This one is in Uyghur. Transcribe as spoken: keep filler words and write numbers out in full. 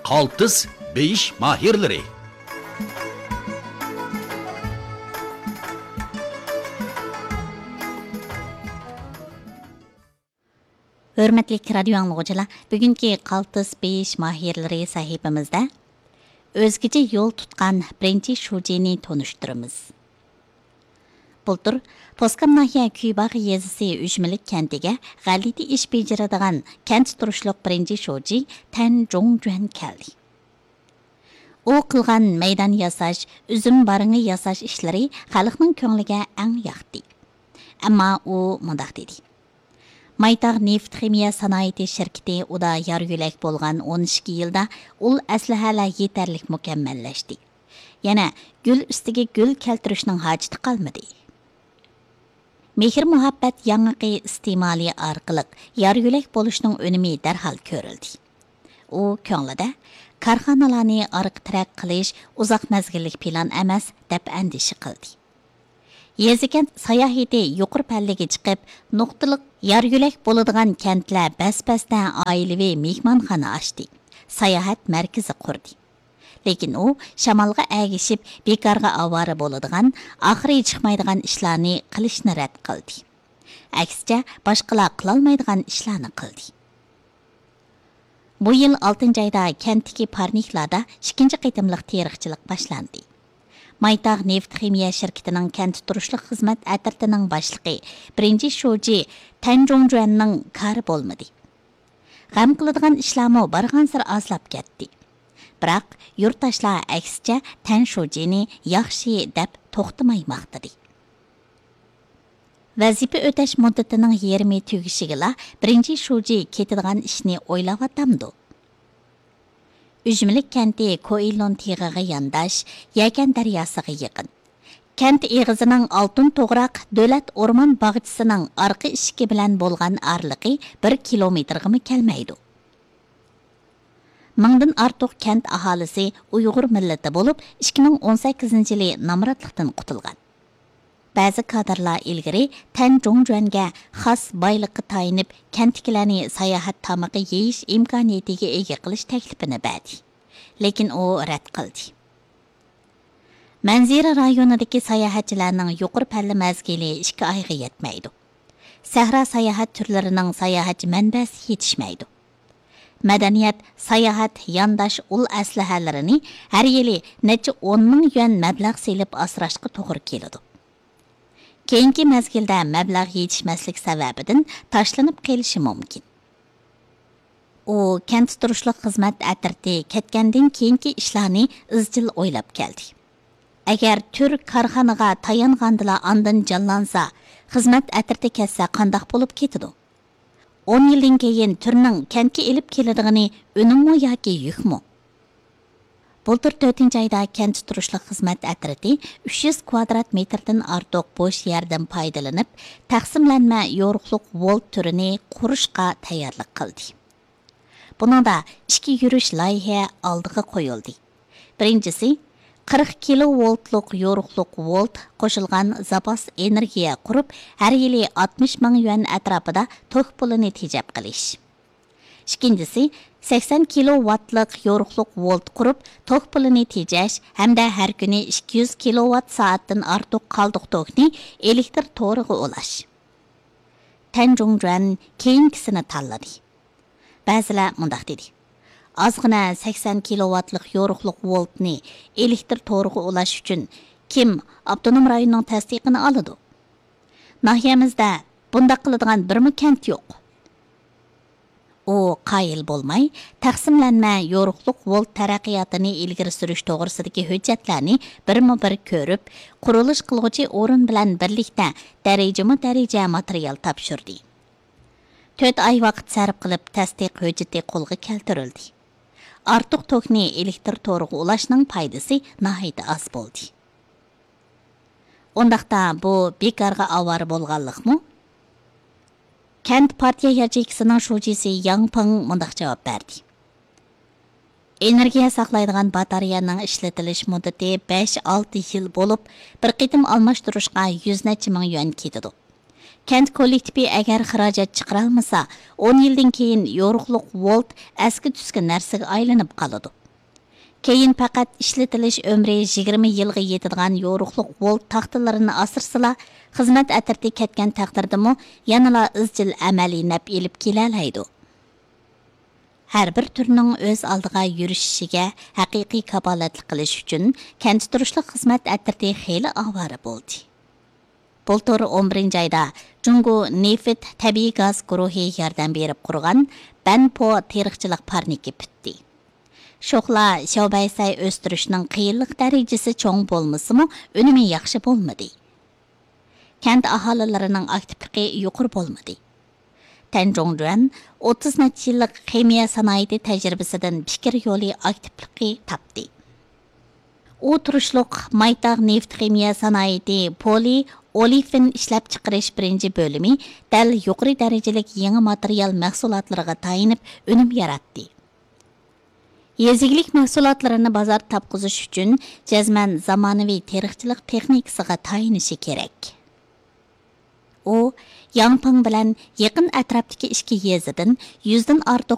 قالتىس بېيىش ماھىرلىرى. ھۆرمەتلىك رادىيو ئاڭلىغۇچىلار، بۈگۈنكى قالتىس بېيىش ماھىرلىرى سەھىپىمىزدە ئۆزگىچە يول تۇتقان بىرىنچى شۇجىنى تونۇشتۇرىمىز. بۇلتۇر پوسكام ناھىيە كۈيباغ يېزىسى ئۈجمىلىك كەنتىگە غەلىتە ئىش بېجىرىدىغان كەنتتە تۇرۇشلۇق بىرىنچى شۇجى تەن جۇڭجۈەن كەلدى. ئۇ قىلغان مەيدان ياساش، ئۈزۈم بارىڭى ياساش ئىشلىرى خەلقنىڭ كۆڭلىگە ئەڭ ياقتى. ئەمما ئۇ مۇنداق دېدى: مايتاغ نېفىت خىمىيە سانائىتى شىركىتى ئۇدا يار يۆلەك بولغان ئون ئىككى يىلدا ئۇل ئەسلىھەلەر يېتەرلىك مۇكەممەللەشتى. يەنە گۈل ئۈستىگە گۈل كەلتۈرۈشنىڭ ھاجىتى قالمىدى. مېھىر مۇھەببەت ياڭىقى ئىستېمالى ئارقىلىق يار يۆلەك بولۇشنىڭ ئۈنۈمى دەرھال كۆرۈلدى. ئۇ كۆڭلىدە كارخانىلارنى ئارقا تىرەك قىلىش ئۇزاق مەزگىللىك پىلان ئەمەس، دەپ ئەندىشە قىلدى. يېزا كەنت ساياھىتى يۇقىرى پەللىگە چىقىپ، نۇقتىلىق يار يۆلەك بولىدىغان كەنتلەر بەس بەستە ئائىلىۋى مېھمانخانا ئاچتى، ساياھەت مەركىزى قۇردى. لېكىن ئۇ شامالغا ئەگىشىپ بىكارغا ئاۋارە بولىدىغان، ئاخىرى چىقمايدىغان ئىشلارنى قىلىشنى رەت قىلدى. ئەكسىچە، باشقىلار قىلالمايدىغان ئىشلارنى قىلدى. بۇ يىل ئالتىنچى ئايدا كەنتتىكى پارنىكلاردا ئىككىنچى قېتىملىق تېرىقچىلىق باشلاندى. مايتاغ نېفىت خىمىيە شىركىتىنىڭ كەنتتە تۇرۇشلۇق خىزمەت ئەترىتىنىڭ باشلىقى، بىرىنچى شۇجى تەن جۇڭجۈەننىڭ كارى بولمىدى. غەم قىلىدىغان ئىشلارمۇ بارغانسېرى ئازلاپ كەتتى. بىراق، يۇرتداشلار ئەكسىچە تەن شۇجىنى ياخشى دەپ توختىماي ماختىدى. ۋەزىپە ئۆتەش مۇددىتىنىڭ يېرىمى تۈگىشىگىلا بىرىنچى شۇجى كېتىدىغان ئىشنى ئويلاۋاتامدۇ؟ ئۈجمىلىك كەنتى كوئىلون تېغىغا يانداش، يەكەن دەرياسىغا يېقىن. كەنت ئېغىزىنىڭ ئالتۇن توغراق دۆلەت ئورمان باغچىسىنىڭ ئارقا ئىشىكى بىلەن بولغان ئارىلىقى بىر كىلومېتىرغىمۇ كەلمەيدۇ. مىڭدىن ئارتۇق كەنت ئاھالىسى ئۇيغۇر مىللىتى بولۇپ، ئىككى مىڭ ئون سەككىزىنچى يىلى نامراتلىقتىن قۇتۇلغان. بەزى كادىرلار ئىلگىرى تەن جۇڭجۈەنگە خاس بايلىققا تايىنىپ، كەنتتىكىلەرنى ساياھەت تامىقى يېيىش ئىمكانىيىتىگە ئىگە قىلىش تەكلىپىنى بەردى. لېكىن ئۇ رەت قىلدى. مەنزىرە رايونىدىكى ساياھەتچىلەرنىڭ يۇقىرى پەللە مەزگىلى ئىككى ئايغا يەتمەيدۇ. سەھرا ساياھەت تۈرلىرىنىڭ ساياھەتچى مەنبەسى يېتىشمەيدۇ. مەدەنىيەت، ساياھەت، يانداش ئۇل ئەسلىھەلىرىنى ھەر يىلى نەچچە ئون مىڭ يۈەن مەبلەغ سېلىپ ئاسراشقا توغرا كېلىدۇ. كېيىنكى مەزگىلدە مەبلەغ يېتىشمەسلىك سەۋەبىدىن تاشلىنىپ قېلىشى مۇمكىن. ئۇ كەنتتە تۇرۇشلۇق خىزمەت ئەترىتى كەتكەندىن كېيىنكى ئىشلارنى ئىزچىل ئويلاپ كەلدى. ئەگەر تۈر كارخانىغا تايانغاندىلا ئاندىن جانلانسا، خىزمەت ئەترىتى كەتسە قانداق بولۇپ كېتىدۇ؟ ئون يىلدىن كېيىن تۈرنىڭ كەنتكە ئېلىپ كېلىدىغىنى ئۈنۈممۇ ياكى يۈكمۇ؟ بۇلتۇر تۆتىنچى ئايدا كەنتتە تۇرۇشلۇق خىزمەت ئەترىتى ئۈچ يۈز كۋادرات مېتىردىن ئارتۇق بوش يەردىن پايدىلىنىپ، تەقسىملەنمە يورۇقلۇق ۋولت تۈرىنى قۇرۇشقا تەييارلىق قىلدى. بۇنىڭدا ئىككى يۈرۈش لايىھە ئالدىغا قويۇلدى. بىرىنچىسى، قىرىق كىلو ۋولتلۇق يورۇقلۇق ۋولت قوشۇلغان زاپاس ئېنېرگىيە قۇرۇپ، ھەر يىلى ئاتمىش مىڭ يۈەن ئەتراپىدا توك پۇلىنى تېجەپ قېلىش. ئىككىنچىسى، سەكسەن كىلو ۋاتلىق يورۇقلۇق ۋولت قۇرۇپ، توك پۇلىنى تېجەش ھەمدە ھەر كۈنى ئىككى يۈز كىلو ۋات سائەتتىن ئارتۇق قالدۇق توكنى ئېلېكتر تورىغا ئۇلاش. تەن جۇڭجۈەن كېيىنكىسىنى تاللىدى. بەزىلەر مۇنداق دېدى: ئازغىنە سەكسەن كىلوۋاتلىق يورۇقلۇق ۋولتنى ئېلېكتر تورىغا ئۇلاش ئۈچۈن كىم ئاپتونوم رايوننىڭ تەستىقىنى ئالىدۇ؟ ناھىيەمىزدە بۇنداق قىلىدىغان بىرمۇ كەنت يوق. ئۇ قايىل بولماي، تەقسىملەنمە يورۇقلۇق ۋولت تەرەققىياتىنى ئىلگىرى سۈرۈش توغرىسىدىكى ھۆججەتلەرنى بىرمۇ بىر كۆرۈپ، قۇرۇلۇش قىلغۇچى ئورۇن بىلەن بىرلىكتە دەرىجىمۇ دەرىجە ماتېرىيال تاپشۇردى. تۆت ئاي ۋاقىت سەرپ قىلىپ، تەستىق ھۆججىتى قولغا كەلتۈرۈلدى. ئارتۇق توكنى ئېلېكتر تورىغا ئۇلاشنىڭ پايدىسى ناھايىتى ئاز بولدى. ئۇنداقتا بۇ بىكارغا ئاۋارە بولغانلىقمۇ؟ كەنت پارتىيە ياچېيكىسىنىڭ شۇجىسى ياڭ پېڭ مۇنداق جاۋاب بەردى: ئېنېرگىيە ساقلايدىغان باتارېيەنىڭ ئىشلىتىلىش مۇددىتى بەش-ئالتە يىل بولۇپ، بىر قېتىم ئالماشتۇرۇشقا يۈز نەچچە مىڭ يۈەن كېتىدۇ. كەنت كوللېكتىپى ئەگەر خىراجەت چىقىرالمىسا، ئون يىلدىن كېيىن يورۇقلۇق ۋولت ئەسكى تۈسكى نەرسىگە ئايلىنىپ قالىدۇ. كېيىن پەقەت ئىشلىتىلىش ئۆمرى يىگىرمە يىلغا يېتىدىغان يورۇقلۇق ۋولت تاختىلىرىنى ئاسرىسىلا، خىزمەت ئەترىتى كەتكەن تەقدىردىمۇ يەنىلا ئىزچىل ئەمەلىي نەپ ئېلىپ كېلەلەيدۇ. ھەر بىر تۈرنىڭ ئۆز ئالدىغا يۈرۈشۈشىگە ھەقىقىي كاپالەتلىك قىلىش ئۈچۈن كەنتتە تۇرۇشلۇق خىزمەت ئەترىتى خېلى ئاۋارە بولدى. بۇلتۇر ئون بىرىنچى ئايدا جۇڭگو نېفىت تەبىئىي گاز گۇرۇھى ياردەم بېرىپ قۇرغان بەنپو تېرىقچىلىق پارنىكى پۈتتى. شوخلا شياۋبەيسەي ئۆستۈرۈشنىڭ قىيىنلىق دەرىجىسى چوڭ بولمىسىمۇ، ئۈنۈمى ياخشى بولمىدى. كەنت ئاھالىلىرىنىڭ ئاكتىپلىقى يۇقىرى بولمىدى. تەن جۇڭجۈەن ئوتتۇز نەچچە يىللىق خىمىيە سانائىتى تەجرىبىسىدىن پىكىر يولى ئاكتىپلىقى تاپتى. ئۇ تۇرۇشلۇق مايتاغ نېفىت خىمىيە سانائىتى پولى ئولېفىن ئىشلەپچىقىرىش بىرىنچى بۆلۈمى دەل يۇقىرى دەرىجىلىك يېڭى ماتېرىيال مەھسۇلاتلىرىغا تايىنىپ ئۈنۈم ياراتتى. يېزا ئىگىلىك مەھسۇلاتلىرىنى بازار تاپقۇزۇش ئۈچۈن جەزمەن زامانىۋى تېرىقچىلىق تېخنىكىسىغا تايىنىشى كېرەك. ئۇ ياڭپىڭ بىلەن يېقىن ئەتراپتىكى ئىككى يېزىدىن يۈزدىن ئارتۇق